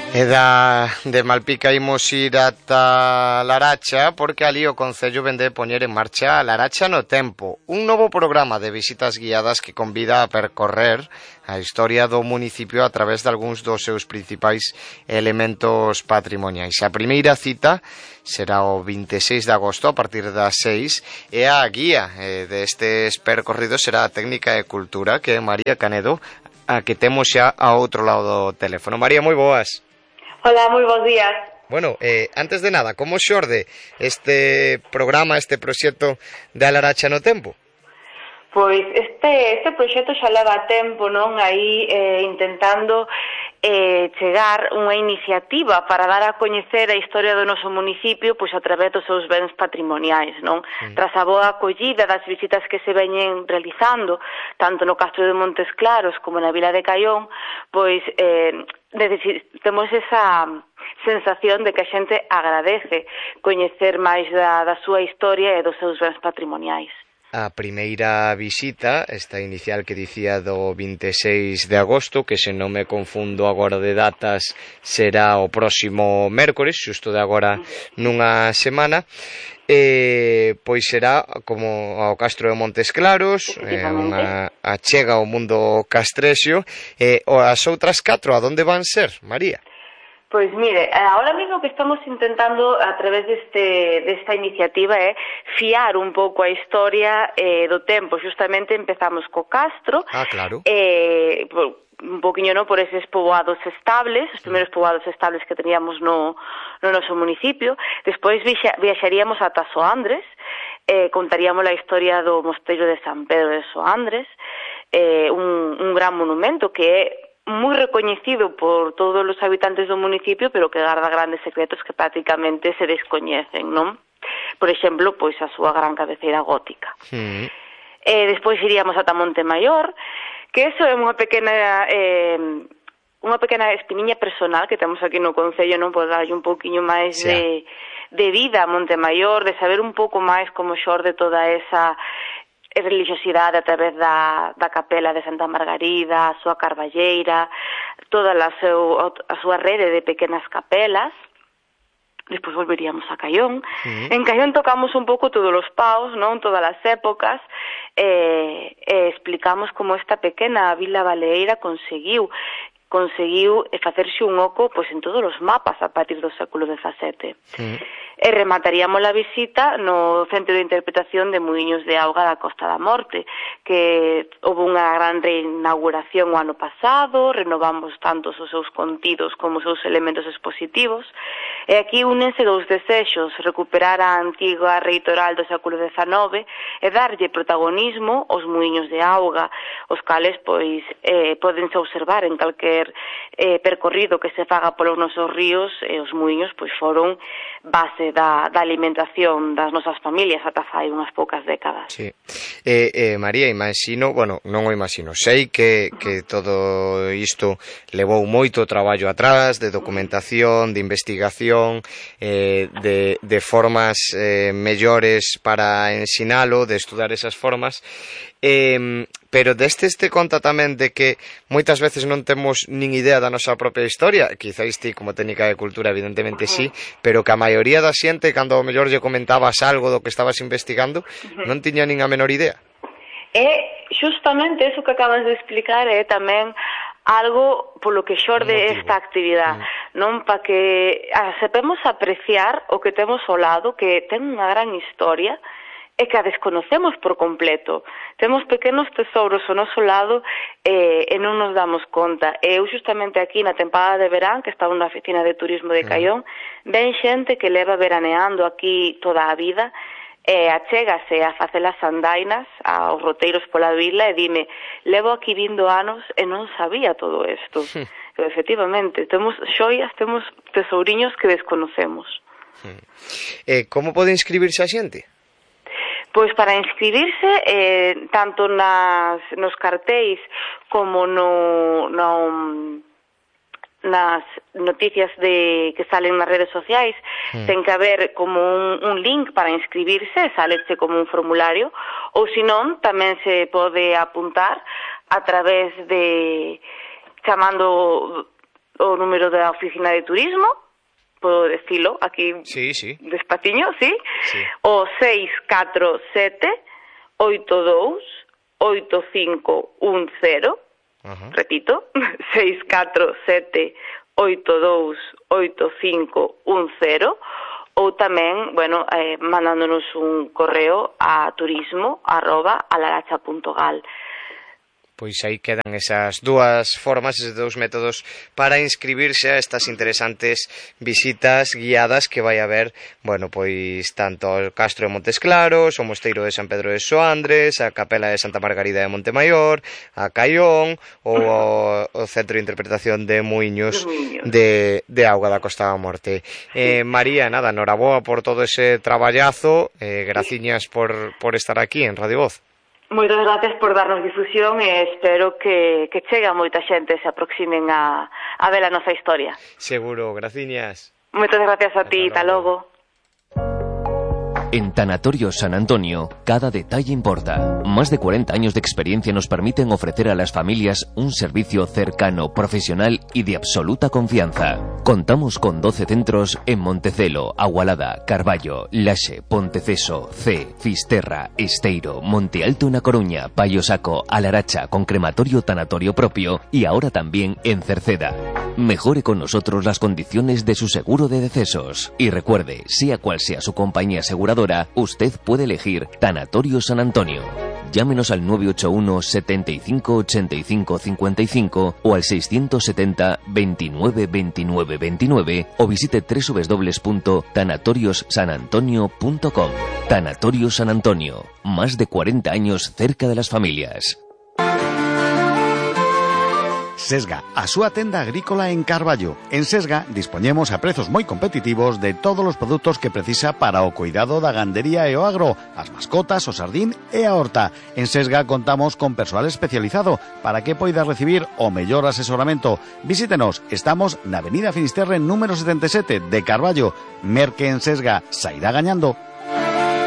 E de Malpica imos ir ata Laracha, porque ali o Concello vende de poñer en marcha Laracha no Tempo, un novo programa de visitas guiadas que convida a percorrer a historia do municipio a través de algúns dos seus principais elementos patrimoniais. A primeira cita será o 26 de agosto a partir das 6 e a guía destes percorridos será a Técnica de Cultura, que é María Canedo, a que temos xa a outro lado do teléfono. María, moi boas. Hola, moi bons días. Bueno, antes de nada, como xorde este programa, este proxecto de A Laracha no Tempo? Pois este proxecto xa leva tempo, non? Aí intentando chegar unha iniciativa para dar a coñecer a historia do noso municipio pois a través dos seus bens patrimoniais, non? Tras a boa acollida das visitas que se veñen realizando, tanto no Castro de Montes Claros como na Vila de Caión, pois temos esa sensación de que a xente agradece coñecer máis da súa historia e dos seus bens patrimoniais. A primeira visita, esta inicial que dicía do 26 de agosto, que se non me confundo agora de datas, será o próximo mércores, xusto de agora nunha semana, pois será como ao Castro de Montes Claros, unha achega ao mundo castrexio, as outras 4, a donde van ser, María? Pois mire, ahora mesmo que estamos intentando a través desta iniciativa é fiar un pouco a historia do tempo. Justamente empezamos co Castro, claro. Un poquinho por eses poboados estables, os primeiros poboados estables que teníamos no noso municipio. Despois viaxaríamos ata Soandres, contaríamos a historia do mosteiro de San Pedro de Soandres, un gran monumento que é moi recoñecido por todos os habitantes do municipio, pero que garda grandes secretos que prácticamente se descoñecen, non? Por exemplo, pois a súa gran cabeceira gótica. Despois iríamos ata Montemaior, que eso é unha pequena espiniña personal que temos aquí no Concello, non? Por darlle un pouquiño máis de vida a Montemaior, de saber un pouco máis como xorde toda esa religiosidade a través da capela de Santa Margarida, a súa carballeira, toda a súa rede de pequenas capelas. Despois volveríamos a Caión. En Caión tocamos un pouco todos os paos, non? Todas as épocas, explicamos como esta pequena vila baleeira conseguiu facerse un oco pois en todos os mapas a partir do século XVII. E remataríamos a visita no Centro de Interpretación de Muiños de Auga da Costa da Morte, que houve unha gran reinauguración o ano pasado, renovamos tanto os seus contidos como os seus elementos expositivos, e aquí únense dous desexos: recuperar a antiga reitoral do século XIX e darlle protagonismo aos muiños de auga, os cales pois podense observar en calquer percorrido que se faga polos nosos ríos, e os muiños pois foron base da alimentación das nosas familias ata fai unhas poucas décadas. Sí. María, imagino, bueno, non o imagino, sei que todo isto levou moito traballo atrás, de documentación, de investigación, de formas mellores para ensinalo, de estudar esas formas, pero destes te conta tamén de que moitas veces non temos nin idea da nosa propia historia, quizáis ti como técnica de cultura evidentemente sí, pero que a maioría da xente, cando ao mellor lle comentabas algo do que estabas investigando, non tiña nin a menor idea. Justamente eso que acabas de explicar é tamén algo polo que xorde esta actividade, non? Para que sepemos apreciar o que temos ao lado, que ten unha gran historia, e que a desconocemos por completo. Temos pequenos tesouros ao noso lado e non nos damos conta. Eu justamente aquí na tempada de verán, que estaba na oficina de turismo de Caión, ven xente que leva veraneando aquí toda a vida, achégase a facer as andainas aos roteiros pola vila e dime: levo aquí vindo anos e non sabía todo isto. Pero efectivamente, temos xoias, temos tesouriños que desconocemos. Como pode inscribirse a xente? Pois para inscribirse, tanto nos cartéis como nas noticias que salen nas redes sociais, ten que haber como un link para inscribirse, saleche como un formulario, ou senón tamén se pode apuntar a través de chamando o número da oficina de turismo, podo decilo aquí sí. despaciño, sí? O 647-82-8510, repito, 647-82-8510, ou tamén, bueno, mandándonos un correo a turismo@alaracha.gal. Pois aí quedan esas dúas formas, esos dous métodos para inscribirse a estas interesantes visitas guiadas que vai haber, bueno, pois tanto ao Castro de Montes Claros, ao Mosteiro de San Pedro de Soandres, a Capela de Santa Margarida de Montemayor, a Caión ou ao Centro de Interpretación de Muiños de Auga da Costa da Morte. María, nada, noraboa por todo ese traballazo, graciñas por estar aquí en Radio Voz. Moitas gracias por darnos difusión e espero que chegue a moita xente se aproximen a ver a nosa historia. Seguro, graciñas. Moitas gracias a ti, hasta logo. En Tanatorio San Antonio, cada detalle importa. Más de 40 años de experiencia nos permiten ofrecer a las familias un servicio cercano, profesional y de absoluta confianza. Contamos con 12 centros en Montecelo, Agualada, Carballo, Laxe, Ponteceso, C, Fisterra, Esteiro, Monte Alto na Coruña, Paio Saco, Alaracha, con crematorio tanatorio propio y ahora también en Cerceda. Mejore con nosotros las condiciones de su seguro de decesos. Y recuerde, sea cual sea su compañía aseguradora, usted puede elegir Tanatorio San Antonio. Llámenos al 981 75 85 55 o al 670 29 29 29 o visite www.tanatoriossanantonio.com. Tanatorio San Antonio, más de 40 años cerca de las familias. Sesga, a súa tenda agrícola en Carballo. En Sesga dispoñemos a prezos moi competitivos de todos os produtos que precisa para o cuidado da gandería e o agro, as mascotas, o sardín e a horta. En Sesga contamos con persoal especializado para que poida recibir o mellor asesoramento. Visítenos, estamos na Avenida Finisterre número 77 de Carballo. Merque en Sesga, sairá gañando.